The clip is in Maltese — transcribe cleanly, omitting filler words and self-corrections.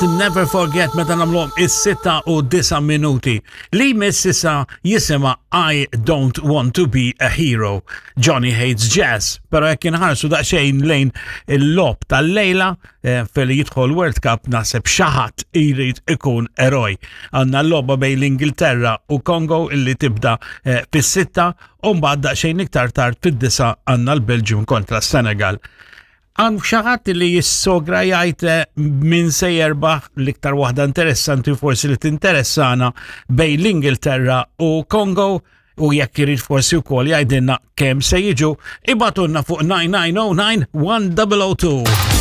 Never Forget meta nagħmluhom is-6 u 9 minuti. Li jmiss issa jisimha I Don't Want to Be a Hero. Johnny Hates Jazz, però jekk inħarsu daqsxejn lejn il-lob tal-lejla eh, fil jidħol World Cup naħseb xi ħadd irid ikun eroj. Għandna l-logħba bejn l-Ingilterra u Kongo illi tibda eh, fis-sitta u mbagħad daqsxejn iktar tard fid-disa għandna l-Belġium kontra s-Senegal. Għan xi ħadd li jissogra jgħid eh, min se jerbaħ l-iktar waħda interessanti forsi li tinteressana bejn l-Ingilterra u Kongo u jekk irid forsi wkoll jgħidilna kemm se jiġu ibatunna fuq 9909 1002.